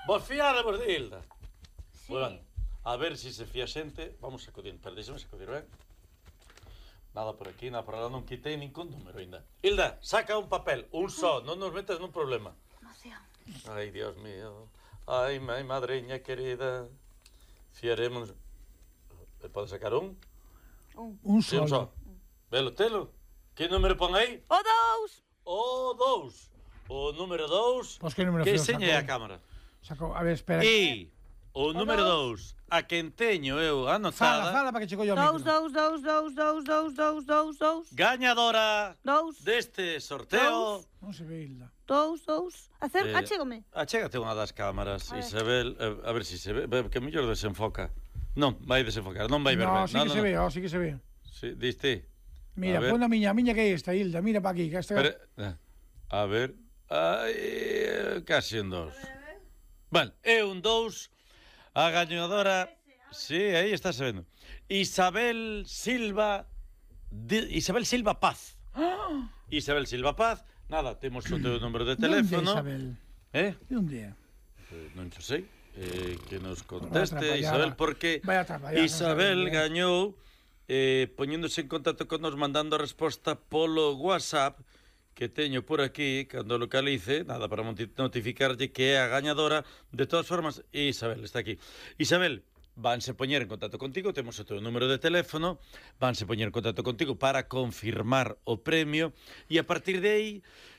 Vos fiádevos de Hilda. Sí. Bueno, a ver si se fía xente. Vamos sacudir, pero deixame sacudir, ben? Nada por aquí, nada por lá, non quitei ningún número ainda. Hilda, saca un papel, un só, non nos metas nun problema. Emoción. Ai, Dios mío. Ai, madreña querida. Fiaremos... Pode sacar un? Un Sí, un solo. só. Velo, telo. Que número pon aí? O 2. O 2. O número 2. Pois que número Que feo señe a sacou? cámara. Sacou, a ver, espera. E o número 2, a quen teño eu anotada, Fala, para que chegou yo ao 2, micro. 2, 2, 2, 2, 2, 2, 2, 2. gañadora 2. deste sorteo. Non se ve, Hilda. 2, 2. Achégome. Achégate unha das cámaras, A ver. Isabel, a ver se se ve, que mellor desenfoca. Non, vai desenfocar, non vai ver No, ben. sí que se ve, sí que se ve. Sí, diste. Mira, A ver. pon a miña que é esta, Hilda, mira para aquí, que esta... Pero, a ver, ai, casi un 2. Vale, é un 2. A gañadora, sí, aí está se vendo. Isabel Silva Paz. Isabel Silva Paz. Nada, temos o teu número de teléfono. Isabel? De onde é? Non xo sei. Que nos conteste, Vaya Isabel, porque vaya atrapallada, Isabel non sabía. gañou poñéndose en contacto con nos, mandando a resposta polo WhatsApp que teño por aquí, cando localice, nada, para notificarlle que é a gañadora. De todas formas, Isabel está aquí. Isabel, vanse poñer en contacto contigo, temos o teu número de teléfono, vanse poñer en contacto contigo para confirmar o premio, e a partir de aí,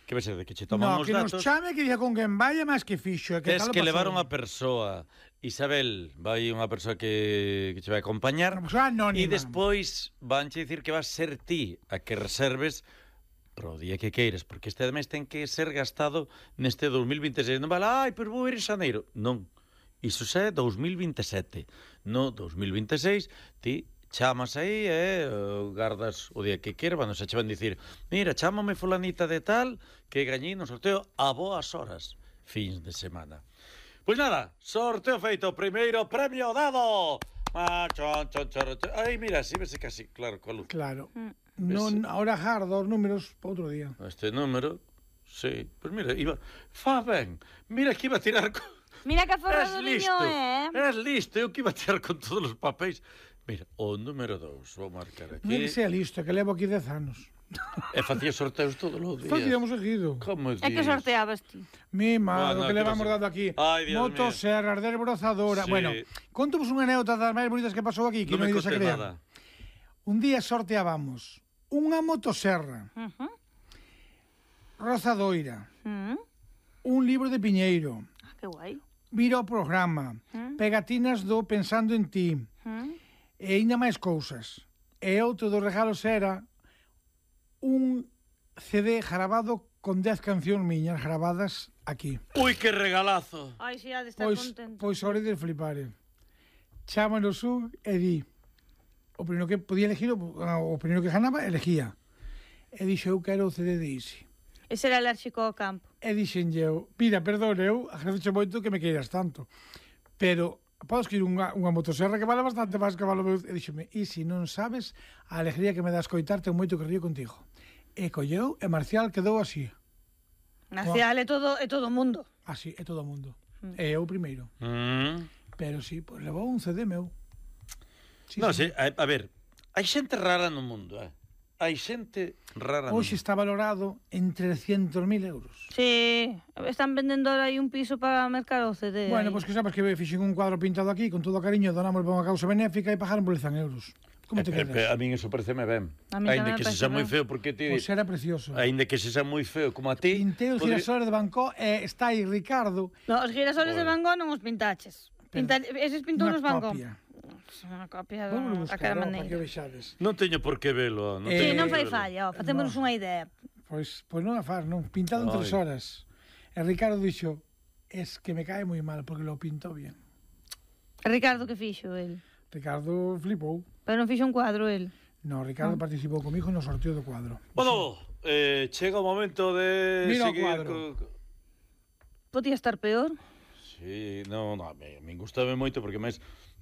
que vai ser de que che tomamos No, que nos datos. chame, que diga con quen vaya máis que fixo. Tes que levar unha persoa. Isabel, vai unha persoa que che vai acompañar. Unha persoa anónima. E despois vanche dicir que vas ser ti a que reserves pro día que queires, porque este mes ten que ser gastado neste 2026. Non vale, ai, pero vou ir en xaneiro. Non. Iso xa é 2027. No 2026, ti chamas aí e gardas o día que queira, cando se che van dicir, mira, chámame fulanita de tal que gañei no sorteo a boas horas, fins de semana. Pois nada, sorteo feito, primeiro premio dado. Ai, mira, si vese casi claro coa luz. Claro. Non, ahora jar dos números para outro día. Este número, sí, pois mira, iba, fa ben, mira que iba a tirar con... Mira que aforrado Eres niño, listo, eres listo, eu que iba a tirar con todos os papéis. Mira, o número 2, vou marcar aquí. Non que sea listo, que levo aquí 10 anos. E facía sorteos todos os días. Facíamos seguido. Como É que sorteabas ti. Mima, Bueno, o que que levamos pasa? dado aquí. Ai, Dios Motosserras, desbrozadora. Sí. Bueno, contovos unha anécdota das máis bonitas que pasou aquí, que Non non me ides a contes creer. nada. Un día sorteábamos unha motosserra, rozadoira, un libro de Piñeiro, Que guai. vira o programa, pegatinas do Pensando en Ti, e ainda máis cousas. E outro dos regalos era un CD grabado con 10 cancións miñas gravadas aquí. Ui, que regalazo. Ai, si, ha de estar Pois, contento. pois hora de flipare. Chámanos un e di, o primeiro que podía elegir, o primeiro que ganaba, elegía. E dixo, eu quero o CD de Easy. Ese era alérxico ao campo. E dixen eu, mira, perdón, eu agradecho moito que me queiras tanto, pero podes escribir unha motosserra que vale bastante máis que vale o meu... E dixeme, Easy, non sabes a alegría que me dá escoitarte o moito que río contigo. E colleu, e Marcial quedou así. Marcial é todo o mundo. Así, é todo o mundo. E eu primeiro. Pero sí, pois levou un CD meu. Sí, Non sei, a ver, hai xente rara no mundo, Hai xente rara no Hoxe mundo. está valorado en 300.000 euros. Sí, están vendendo ahora aí un piso para mercar o CD. Bueno, aí. pois que sabes que fixen un cuadro pintado aquí, con todo o cariño, donamos para unha causa benéfica e pagaron por 100 euros. Como te quedas? A min eso pareceme ben. A min Ainda tamén que me sexa parece moi ben. feo, porque ti... Pois era precioso. Ainda que sexa moi feo como a ti... Pintei os girasoles de Bangkok e está aí Ricardo. No, os girasoles de Van Gogh non os pintaches. Eses pintou os Van Gogh. copia. Unha copia Vamos da buscar, cara para que maneira. vexades. Non teño por que velo. Sí, non fai velo. falla, facémonos unha idea. Pois non a faz, non. Pintado en 3 Ai. horas. E Ricardo dixo, es que me cae moi mal, porque lo pintó bien. Ricardo que fixo el. Ricardo flipou. Pero non fixo un cuadro el. No, Ricardo participou comigo no sorteo do cuadro. Bueno, chega o momento de Mira o seguir... cuadro. Podía estar peor. Sí, non, a min gustame moito, porque máis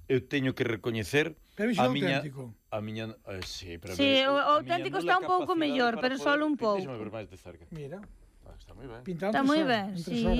eu teño que recoñecer Pero iso é auténtico. A miña, sí, pero Sí, o a miña auténtico nula está un pouco capacidade mellor, para pero poder- solo un pouco. Deixame ver máis de cerca. Mira, Está moi ben. pintado Está en 3 moi horas, ben, en 3 sí. horas.